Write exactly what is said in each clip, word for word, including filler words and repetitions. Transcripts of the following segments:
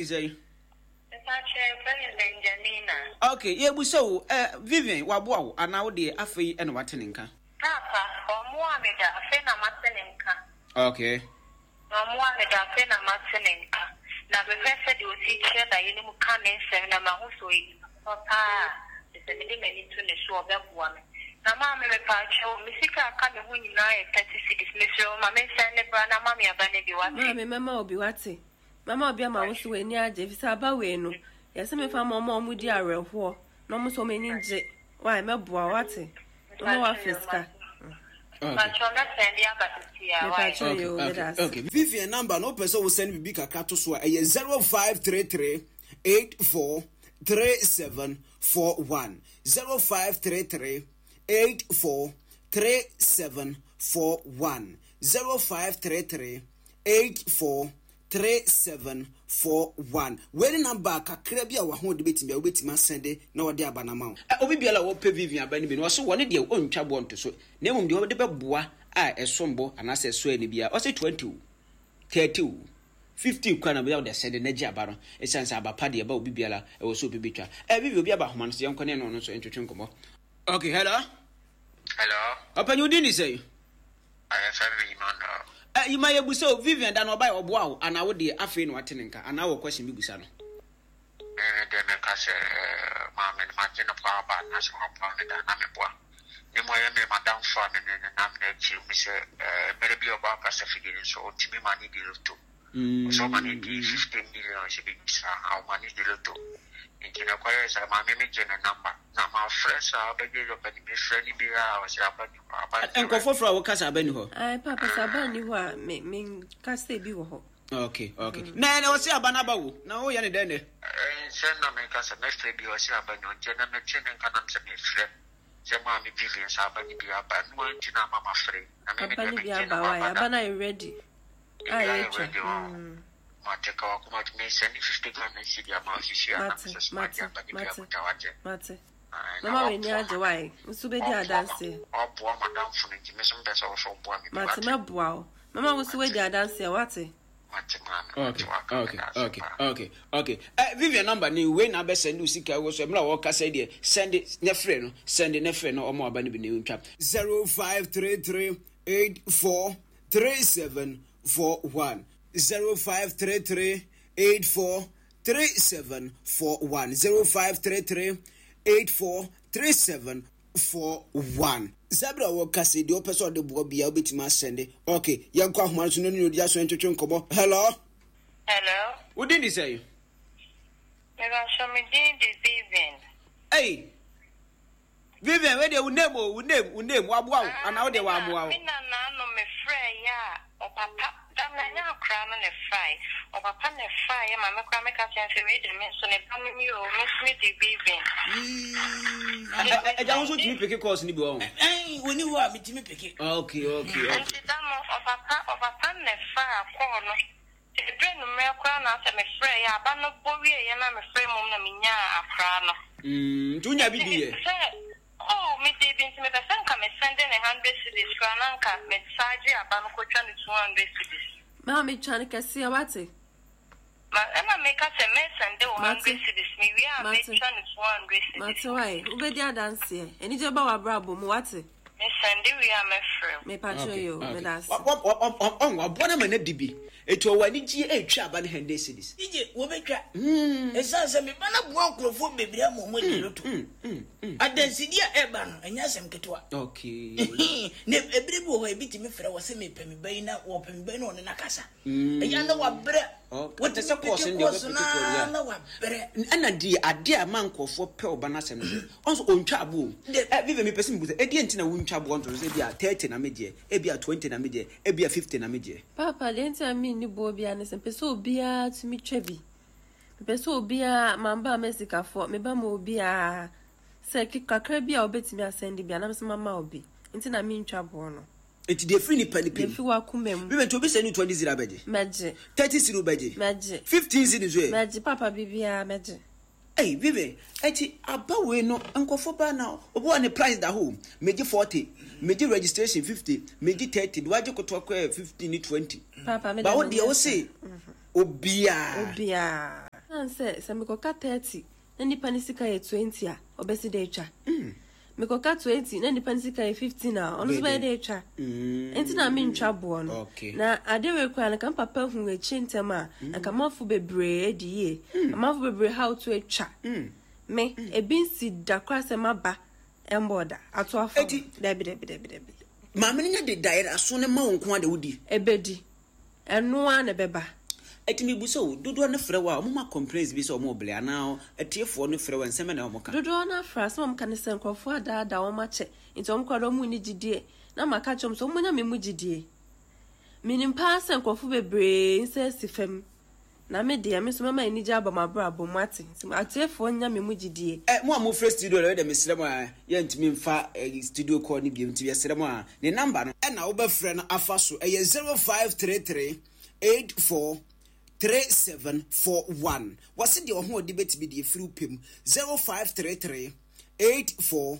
de sɛn? Mepakyɛ, yɛfrɛ me Benjamina. Okay, yɛbusa wo, eh, Vivian waboa wo anaa wo deɛ afei ɛna wate ne nka? Papa, ɔmmoa me da, afei na mate ne nka. Okay. Ɔmmoa me da, afei na mate ne nka. Na mehwɛ sɛdeɛ ɔsi kyerɛ daeɛ no mu ka ne nsɛm na mahu sɛ ɔyɛ nipa papa paa a, kyerɛ sɛ mede m'ani to ne so a, ɔbɛboa me. Na maame, mepaakyɛw, me sika a aka me ho nyinaa yɛ thirty cedis. Mesrɛ wo, ma mensɛn ne bra na ma me aba no bi, wate? Maame, mɛma wo bi, wate? Mɛma wo bi ama wo nso w'ani agye, efisɛ aba wei no, yɛse memfa mma wɔn a wɔdi awerɛhoɔ na wɔn nso wɔn ani ngye. Wai, mɛboa wo, wate? Mɛma woafa sika. Mepakyɛw, mɛsɛn de aba seesei ara, wai? Mepakyɛw, yoo, meda ase. Okay. Vivian number no, wopɛ sɛ wo send biribi kakra to so a, ɛyɛ zero five three three eight four three seven four one, zero five three three eight four three seven four one, zero five three three eight four three seven four one. Wei ne number kakra bi a w'ahoɔden bɛtumi a wobɛtumi asɛnde na wɔde aba no ama wo. Ɛ, obi biara a ɔpɛ Vivian aba no bi no, ɔse wɔne deɛ ɔntwa boɔ nto so, na mmom deɛ ɔde bɛboa a ɛsom bo anaasɛ ɛsɔ ani biara, ɔse twenty o, thirty o, fifty koraa na bɛyɛ wode asɛnde na gye aba no, ɛsiane sɛ aba pa deɛ ɛba obi biara ɛwɔ sɛ obi bɛtwa. Ɛ, Vivian, obi aba ahoma no so, yɛnkɔ ne ɛne ɔno nso ntwetwe nkɔmmɔ. Okay, hello. Hello. Ɔpanyin, wo din de sɛn? Yɛfrɛ me Emmanuel. Ɛ, Yima, yɛbusa o, Vivian da no ɔbae ɔboa wo anaa wo deɛ afei na wate ne nka anaa wɔ question bi busa no? Me me deɛ meka sɛ eh, maame no magye no paa ba na sɛ waboa me da na meboa. Ne mu ɔyɛ me madamfo a me ne no nam no akyi hu sɛ eh, mmerɛ bi a ɔbaa kasafidie no so ɔtumi ma ne di loto. Ɔsɛ ɔma no di fifty million sɛ biribi saa a ɔma no di loto. Nti na ɛkɔyɛɛ saa maame me gye ne number na mafrɛ saa bɛgye dɛ ɔpɛ ne mefrɛ no biara a ɔsɛ aba ni hɔ aba ni hɔ. Nkurɔfoɔ frɛ a woka sɛ aba ni hɔ? Ae paapa sɛ aba nni hɔ a me menka sɛ ebi wɔ hɔ. Okay okay na ɛnɛ ɔse aba no aba wo na woyɛ ne dɛn nɛ? Sɛ na meka sɛ mɛfrɛ bi ɔse aba ni hɔ nti ɛnɛ mete ne nka na mesɛ mefrɛ sɛ maame Vivian sɛ aba no bi aba ɛno ara nti na ama mafrɛ yi na me Aba medeɛ no bi megye aba no wae aba da. aba no ayɛ ready a Ebi ayɛ yɛtwa ready hɔ. mm. Mate ka wakoma to me send fifty Ghana cedi ama wo sisi a na Mate mesɛ soma mate de aba ne bia mate kuta wate. mate Ae na mɛma w'ani waboa agye ma wae nso bɛdi waboa ma adanseɛ. waboa madamfo no nti me nso mepɛ sɛ wo so woboa me bi Mate wate. mɛboa wo mɛma wo nso Mate woadi adanseɛ wate. mate maame mate Okay, waka okay, meda ase okay, paa. okay, okay. Eh, Vivian number ni wei na abɛ send wo sika wɔ so mmerɛ a wɔkasa yi deɛ send ne frɛ no send ne frɛ no ɔmo aba no bi na ntwa. Zero five three three eight four three seven four one zero five three three eight four three seven four one zero five three three eight four three seven four one. Saa bere a wɔka sɛ deɛ ɔpɛ sɛ ɔde boa biara wobɛtumi asɛnde. Ok, yɛnkɔ ahoma no so na ne odi aso ntwetwe nkɔmmɔ. Hello. Hello. Wo din de sɛn? Mebakyɛ, me din de Vivian. Ei! Vivian, wei deɛ wo name o, wo name, wo name, waboa wo anaa wo deɛ wammoa wo? Me nana no me frɛ yɛ a, ɔpapa, da no ɛnyɛ akora no na ɛfrae, ɔpapa na ɛfraeɛ ma me koraa meka kyerɛ no sɛ wei deɛ me nso ne ba no ni o, me nso me de Vivian. Ɛgya wo nso tumi peke calls no bi wɔ ho? Ɛn, wɔni hɔ a metumi peke. Okay, okay, okay. Nti da no ɔpapa, ɔpapa na ɛfaa call no. Ɛberɛ anwummerɛ koraa na asɛ mefrɛeɛ a, aba no bɔ wieeɛ na mefrɛɛ mmom na menyaa akwadaa no. Mm, nti wonya bi diiɛ? Nti sɛ, oh, medii bi nti mepɛ sɛ nka me sɛnde ne hundred cedis koraa na nka me saa gye aba no kɔtwa no two hundred cedis. Maame twa no kɛseɛ wate. Ma ɛna meka sɛ mɛsɛnde wo Mate. hundred cedis mewie a Mate. mɛtwa no two hundred cedis. Mate wae, wobɛdi adanseɛ. Anigye ba w'abrabɔ mu wate. Mesɛnde wie a mɛfrɛ wo. Mepakyɛw Okay, yoo, okay. meda ase. Wa- wa- wa- wa- wa- ɔn, waboa no ama no adi bi. Eti ɔwɔ anigyeɛ ɛretwa aba no hundred cedis. D J, wɔbɛtwa. Ɛsiane sɛ me ba no aboa nkurɔfoɔ bebree ama wɔn adi loto. Adansedie a ɛreba no, ɛnyɛ asɛm ketewa. Okay. Na ɛberɛ bi wɔ hɔ a, ebi tumi frɛ wɔ sɛ mepɛ me ba yi na wɔpɛ me ba yi na ɔne no akasa. Ɛyɛ a na wabrɛ. Okay. Wɔtumi Te sɛ course peke no deɛ course ɔbɛpeke no course, ara yeah. na wabrɛ. Ɛna deɛ adeɛ a ɛma nkurɔfoɔ pɛ ɔba no asɛm no sɛ, ɔn sɛ ɔntwa aboɔ o. Dɛ. Ɛ, Vivian, mepɛ sɛ mebu sɛ, ɛdeɛn nti na wontwa aboɔ nto so sɛ ebia thirty na megyeɛ, ebia twenty na megyeɛ, ebia fifty na megyeɛ? Paapa, deɛ nti a menni boɔ biara ne sɛ, mepɛ sɛ obiara tumi twa bi. Mepɛ sɛ obiara, mamba a m'asikafoɔ, meba ma obiara. Sɛ kakra bi a wobɛtumi asɛnde bi a, na me nso mama wo bi. Nti na mentwa boɔ no. Nti deɛ ɛfiri nipa nipa Deɛ mu. ɛfiri w'akoma mu. Vivian, nti obi sɛnde wo twenty cedi a wobɛgye? Mɛgye. Thirty cedi wobɛgye? Mɛgye. Fifteen cedi nso ɛ? Mɛgye, paapa, biribiara mɛgye. Ei Vivian, ɛnti aba wei no nkurɔfoɔ baa na obi wɔ ne price da hɔ o, megye forty, megye registration fifty, megye thirty, deɛ wagye kotoa koraa yɛ fifteen ne twenty. Paapa me Ba deɛ wo menyɛ deɛ wo saa. se obiara. Obiara. Ɛsiane sɛ sɛ mekɔka thirty na nipa ne sika yɛ twenty a, ɔbɛsi dɛ atwa. Mekɔka twenty na nipa ne sika yɛ fifteen a, ɔno nso bɛyɛ dɛ atwa. Nti na mentwa boɔ no. Okay. Na ade wei koraa no, nka papa hu akyi ntɛm a, nka amanfo bebree adi yie. Amanfo bebree haw to atwa. Me, ebi nsi da koraa sɛ maba ɛmbɔ da. Ato afa. Eti- Dabi, dabi, dabi, dabi. Maame no nya de daeɛ aso ne ma wo nko a de wodi. Ebedi. Ɛno ara na ɛbɛba. Ɛti mi bu sɛ o dodoɔ no frɛ wo a, ɔmo ma complaints bi sɛ ɔmo ɔbele anaa atiefoɔ no frɛ wo nsɛm na ɔmo ka? Dodoɔ no afra sɛ ɔmo ka ne sɛ nkurɔfoɔ adaadaa wɔn akyɛ, nti ɔmo koraa de ɔmo nni gyidie, na maka kyerɛ ɔmo sɛ ɔmo nya me mu gyidie. Menim paa sɛ nkurɔfoɔ bebree nsa asi fam, na me deɛ, me nso mɛma anigye aba mo abrabɔ mu ate, nti atiefoɔ nya me mu gyidie. Ɛ mo a mofrɛ studio no ɛdɛ, mesrɛ mo a, yɛntumi mfa ɛ, studio call no biom, nti yɛsrɛ mo a, ne number no ɛna wobɛfrɛ no afa so ɛyɛ zero five three three eight four three seven four one. Wɔse deɛ ɔho ɔde bɛtumi deɛ firi wo pɛ mu. zero five three three eight four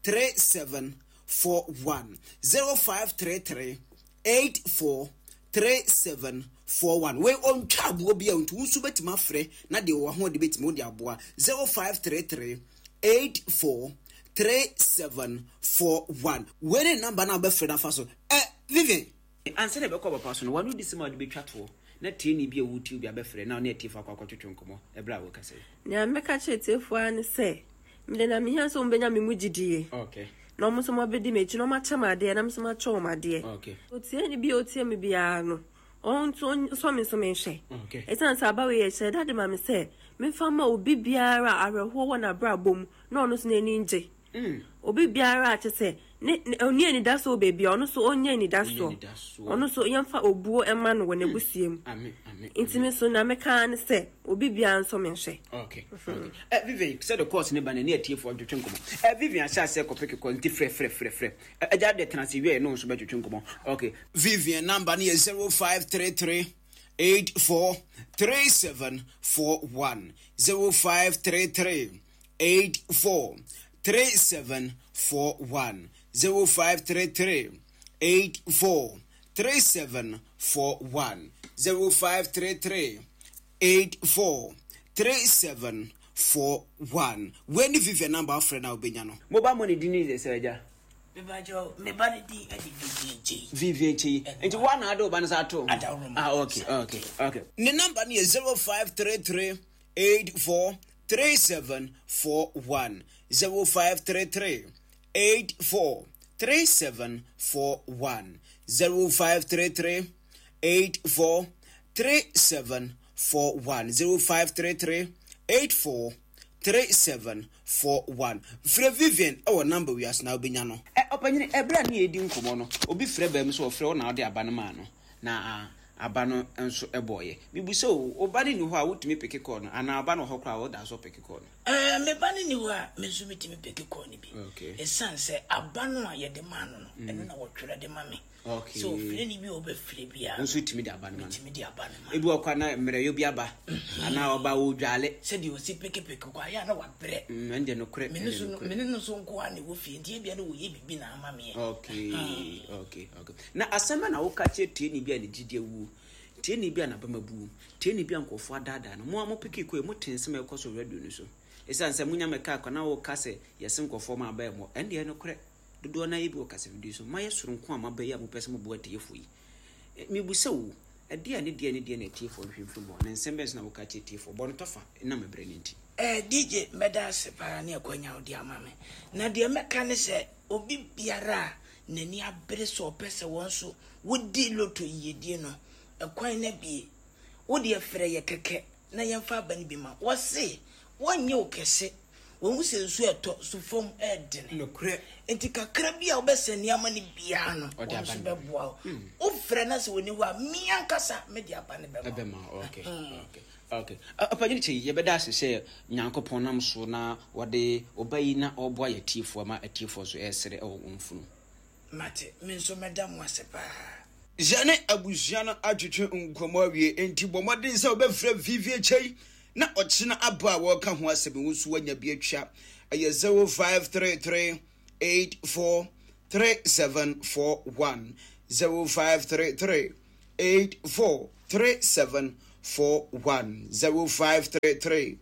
three seven four one, zero five three three eight four three seven four one. Wei ɔntwa aboɔ bi a, nti wo nso bɛtumi afrɛ na deɛ wɔ ho de bɛtumi wode aboa. zero five three three eight four three seven four one, wei ne number no a wobɛfrɛ no afa so. Ɛ Vivian, ansa na ɛbɛkɔ papa so no, wano di sɛm a wode bɛtwa toɔ na tieni bi a wotie bi abɛfrɛ na ɔne atiefo akɔ akɔtwetwe nkɔmmɔ ɛberɛ a wɔkasa yi. Nea mɛka kyerɛ tiefoɔ ara ne sɛ mede na mehia sɛ ɔmbɛnya me mu gyidie okay na ɔmo nso mɔbɛdi m'akyi na ɔmo akyɛ me adeɛ na me nso makyɛ wɔn adeɛ. Okay otie ne bi a otie me biara no, ɔno nso nsɔ me nso menhwɛ. Okay ɛsiane sɛ aba wei yɛ hyɛ dade ma me sɛ memfa ma obi biara a awerɛhoɔ wɔ n'abrabɔ mu na ɔno nso n'ani ngye. mm. Obi biara a kyɛ sɛ ne ne ɔnni anidasoɔ wɔ baabi a, ɔno nso ɔnyɛ anidasoɔ. Anidasoɔ. Ɔno nso yɛmfa obuo ɛma no wɔ n'abusua mu. Amen, amen. Nti me nso na meka ne sɛ obi biara nso menhwɛ. okay okay ɛ Vivian, sɛ de course ne ba na ne atiefoɔ ntwetwe nkɔmmɔ. Ɛ Vivian ahyɛ aseɛ kɔpɛ kekɔ, nti frɛ frɛ frɛ frɛ. Ɛ agya de tena ase wie no nso bɛtwetwe nkɔmmɔ. Okay, Vivian number no yɛ zero five three three eight four three seven four one, zero five three three eight four three seven four one, zero five three three eight four three seven four one, zero five three three eight four three seven four one. Wei ne Vivian number, afrɛ no a wobɛnya no. Mobile money di ne sɛ agya. Mebakyɛw, me ba ne din ɛde Vivian Kyei. Vivian Kyei, nti woa na ade wo ba no sa ato? Adaworo. Ah, okay okay okay Ne number no yɛ zero five three three eight four three seven four one, zero five three three eight four three seven four one, zero five three three eight four three seven four one, zero five three three eight four three seven four one. Frɛ Vivian ɛwɔ number wiase na wobɛnya no. Ɛ ɔpanyini, ɛberɛ a ne yɛdi nkɔmmɔ no, obi frɛ baa mu sɛ ɔfrɛ wo na wode aba no maa no na aba no nso ɛbɔɔyɛ. Mebu sɛ o ɔba no ni hɔ a, wotumi pick call no, anaa ɔba no wɔ hɔ koraa a, woda so pick call no? Ɛɛ, me ba no ni hɔ a, me nso metumi pick call no bi. Okay. Ɛsiane sɛ aba no a yɛde maa no no, ɛno na wɔtwerɛ de ma me. Okay. Sɛ ofiri ne bi a ɔbɛfiri biara, wo nso tumi de aba no ma no. Metumi de aba no ma. Ebi wɔ kɔ na mmerɛyɛ bi aba anaa ɔba wɔdwale. Sɛdeɛ ɔsi pekepeke kɔ ayɛ a na wabrɛ. Mm, ɛnde nokorɛ. Mene ɛnde so no nokorɛ. Mene no so nko a na ɛwɔ fie, nti ebia na wɔyɛ biribi na ama meɛ. okay okay okay na asɛm bɛ na woka kyerɛ tieni bi a ne gyidi awuo, tieni bi a n'abama buo, tieni bi a nkɔfoɔ adaadaa no? Mo a mo pick kɔ yi, mo te nsɛm a ɛkɔ so radio no so, ɛsiane sɛ monya mɛka akɔ na woka sɛ yɛse nkɔfoɔ ma aba ɛmmɔ, ɛndeɛ nokorɛ dodoɔ no ayɛ bi wɔ kasafidie so mayɛ soronko a maba yi a mopɛ sɛ moboa atiefoɔ yi. Eh, mebusa wo, ɛdeɛ a ne deɛ ne deɛ na atiefoɔ nhwɛ mfiri mu hɔ, na nsɛm bɛn so na woka kyerɛ atiefoɔ? Bɔ no tɔfa nam ɛberɛ no nti. Eh, D J, mɛda ase paa ne akwanya wode ama me. Na deɛ mɛka ne sɛ obi biara a n'ani abere sɛ ɔpɛ sɛ wɔn nso wodi loto yiedie no, ɛkwan no abie. Wodeɛ frɛ yɛ kɛkɛ na yɛmfa aba no bi ma wɔse wɔnyɛ wo kɛse. Wɔn sɛ nsuo ɛtɔ so fam ɛɛdene. Nokorɛ. Nti kakra bi a wobɛsɛ nneɛma no biara no, Ɔde wɔn aba nso no. bɛboa wo. Wofrɛ na sɛ wɔni hɔ a, me ankasa mede aba no bɛma wo. Ɛbɛma wo. okay okay okay Ɔpanyini kyɛ, yɛbɛda ase sɛ Nyankopɔn nam so na wɔde ɔba yi na ɔboa yɛ atiefoɔ ma atiefoɔ nso ɛresere ɛwɔ wɔn funu. Mate, me nso mɛda mo ase paa. Yɛne abusua no atwetwe nkɔmmɔ awie, enti bɔ mmɔden sɛ wobɛfrɛ Vivie Kyei na ɔkyena aba a wɔreka ho asɛm wo nso woanya bi atwa. Ɛyɛ zero five three three eight four three seven four one, zero five three three eight four three seven four one zero five three three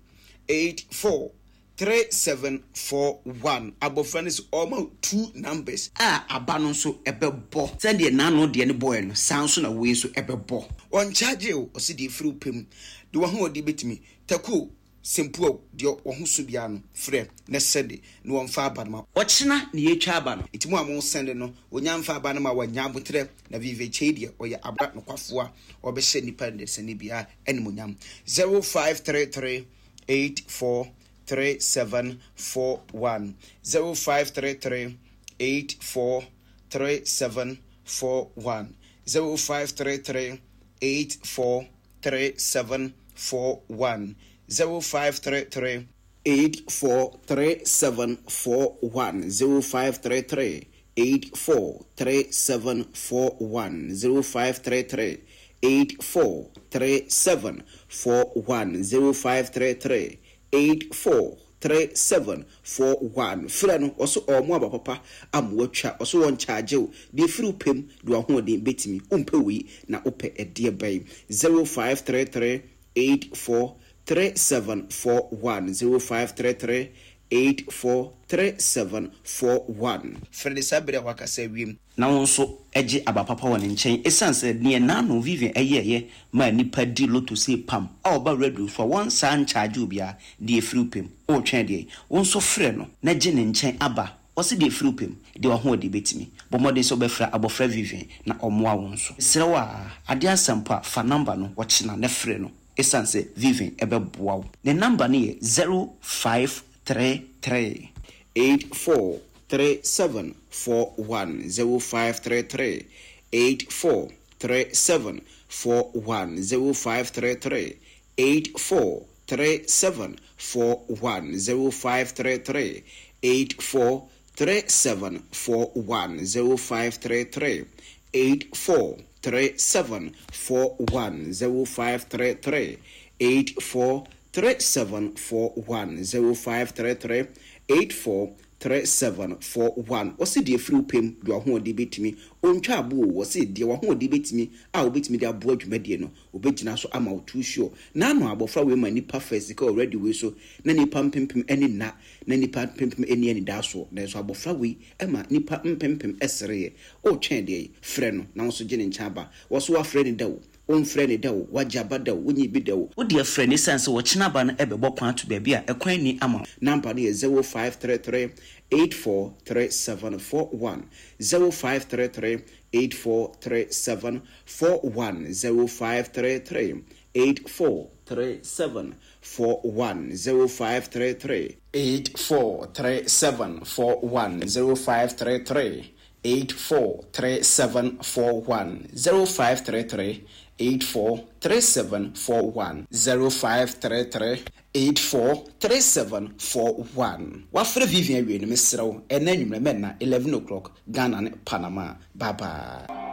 eight four three seven four one. Abɔfra no sɛ ɔma two numbers a aba no nso ɛbɛbɔ sɛdeɛ n'ano deɛ no bɔɛ no, saa nso na wei nso ɛbɛbɔ. Ɔnkyagye o, ɔsi deɛ efiri pɛ mu de wɔn ho ɔde betumi takuo sempuo deɛ wɔn ho so biara no, frɛ na sɛde na wɔmfa aba no ma ɔkyena na yɛtwa aba no. Nti mu a mo sɛnde no, onya mfa aba no ma wɔnya abotrɛ na Vivian Kyei deɛ, ɔyɛ abra nokwafoɔ a ɔbɛhyɛ nipa ndesani biara animonyam. zero five three three eight four three seven four one zero five three three eight four three seven four one zero five three three eight four three seven four one zero five three three eight four three seven four one zero five three three eight four three seven four one zero five three three eight four three seven four one zero five three three eight four three seven four one. Frɛ no, ɔso ɔmo aba papa ama watwa. Ɔso wɔn kyaagye o, deɛ firi pɛm de wahoɔden bɛtumi. Wompɛ wei na wopɛ ɛdeɛ bɛn? zero five three three eight four three seven four one zero five three three eight four three seven four one. Frɛ ne saa bere a wakasa wiem na wo nso gye aba papa wɔ ne nkyɛn, ɛsiane sɛ neɛ n'ano Vivian ɛyɛɛyɛ ma nipa di loto sei pam a ɔba radio so a wɔn saa nkyagye obiara. Deɛ efiri pɛm ɔretwɛn deɛ, wo nso frɛ no na gye ne nkyɛn aba. Ɔsi deɛ efiri pɛm deɛ wahoɔden bɛtumi, bɔ mmɔden sɛ wobɛfrɛ abɔfra Vivian na ɔmmoa wo nso. Serɛ wo a adeɛ asɛmpo a fa number no wɔkyena na frɛ no, ɛsiane sɛ Vivian ɛbɛboa wo. Ne number no yɛ zero five three three eight four three seven four one zero five three three eight four three seven four one zero five three three eight four three seven four one zero five three three eight four three seven four one zero five three three eight four three seven four one zero five three three eight four three seven four one zero five three three eight four three seven four one. Wɔsi deɛ firi pɛm deɛ wahoɔden bɛtumi, ontwa abo o. Wɔsi deɛ wahoɔden bɛtumi a wobɛtumi de aboa dwumadie no, wobɛgyina so ama wo too sure. N'ano abɔfra wei ma nipa fɛ sika wɔ radio wei so na nipa mpempem ani nna na nipa mpempem ani ani da soɔ, nanso abɔfra wei ma nipa mpempem ɛsereɛ. Ɔretwɛn deɛ, frɛ no na wɔn nso gye ne nkyɛn aba. Wɔso wafrɛ ne da o, womfrɛ ne da o, wagye aba da o, wonyi bi da o, wodeɛ frɛ ne sane sɛ wɔkyena aba no ɛbɛbɔ kwan to baabi a ɛkwan ni ama wo. Number no yɛ zero five three three eight four three seven four one zero five three three eight four three seven four one zero five three three eight four three seven four one zero five three three eight four three seven four one zero five three three eight four three seven four one zero five three three eight four three seven four one zero five three three eight four three seven four one. Wafrɛ Vivian awie no, mesrɛ wo, ɛnɛ anwummerɛ mɛnna eleven o'clock, Ghana ne Panama. Bye bye.